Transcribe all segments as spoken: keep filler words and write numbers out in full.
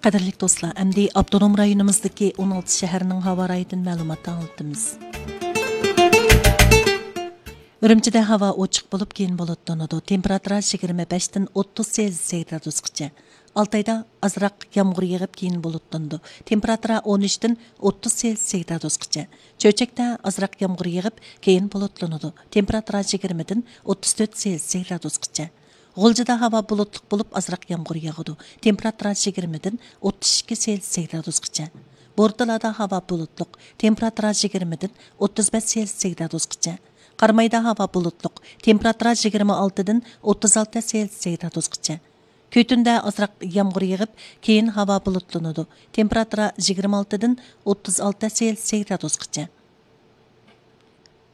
قەدىرلىك دوستلار، ئەمدى ئاپتونوم رايونىمىزدىكى ئون ئالتە شەھەرنىڭ ھاۋا رايىدىن مەلۇمات ئاڭلىتىمىز. ئۈرۈمچىدە ھاۋا ئوچۇق بولۇپ، كېيىن بۇلۇتلىنىدۇ. تېمپېراتۇرا يىگىرمە بەشتىن ئوتتۇز سېلسىيەس گرادۇسقىچە. ئالتايدا ئازراق يامغۇر يېغىپ، كېيىن بۇلۇتلىنىدۇ. تېمپېراتۇرا ئون ئۈچتىن ئوتتۇز سېلسىيەس گرادۇسقىچە. چۆچەكتە ئازراق يامغۇر يېغىپ، كېيىن بۇلۇتلىنىدۇ. تېمپېراتۇرا يىگىرمىدىن ئوتتۇز تۆت سېلسىيەس گرادۇسقىچە. غۇلجىدا ھاۋا بۇلۇتلۇق بولۇپ، ئازراق يامغۇر ياغىدۇ. تېمپېراتۇرا يىگىرمىدىن ئوتتۇز ئىككى سېلسىيەس گرادۇسقىچە. بورتالادا ھاۋا بۇلۇتلۇق، تېمپېراتۇرا يىگىرمىدىن ئوتتۇز بەش سېلسىيەس گرادۇسقىچە. قارامايدا ھاۋا بۇلۇتلۇق، تېمپېراتۇرا يىگىرمە ئالتىدىن ئوتتۇز ئالتە سېلسىيەس گرادۇسقىچە. كۈتۈندە ئازراق يامغۇر يېغىپ، كېيىن ھاۋا بۇلۇتلىنىدۇ. تېمپېراتۇرا يىگىرمە ئالتىدىن ئوتتۇز ئالتە سېلسىيەس گرادۇسقىچە.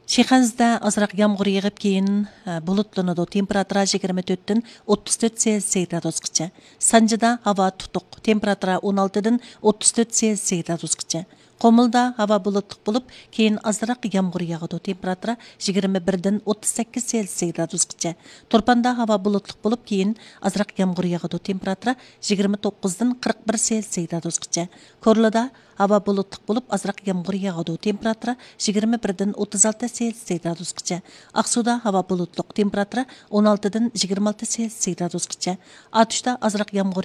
شىخەنزىدە ئازراق يامغۇر يېغىپ، كېيىن، ھە، بۇلۇتلىنىدۇ. تېمپېراتۇرا يىگىرمە تۆتتىن ئوتتۇز تۆت سېلسىيەس گرادۇسقىچە. سانجىدا ھاۋا تۇتۇق. تېمپېراتۇرا ئون ئالتىدىن ئوتتۇز تۆت سېلسىيەس گرادۇسقىچە. قۇمۇلدا ھاۋا بۇلۇتلۇق بولۇپ، كېيىن ئازراق يامغۇر ياغىدۇ. تېمپېراتۇرا يىگىرمە بىردىن ئوتتۇز سەككىز سېلسىيەس گرادۇسقىچە. تۇرپاندا ھاۋا بۇلۇتلۇق بولۇپ، كېيىن ئازراق يامغۇر ياغىدۇ. تېمپېراتۇرا يىگىرمە توققۇزدىن قىرىق بىر سېلسىيەس گرادۇسقىچە. كورلىدا ھاۋا بۇلۇتلۇق بولۇپ، ئازراق يامغۇر ياغىدۇ. تېمپېراتۇرا يىگىرمە بىردىن ئوتتۇز ئالتە سېلسىيەس گرادۇسقىچە. ئاقسۇدا ھاۋا بۇلۇتلۇق. تېمپېراتۇرا ئون ئالتىدىن يىگىرمە ئالتە سېلسىيەس گرادۇسقىچە. ئاتۇشتا ئازراق يامغۇر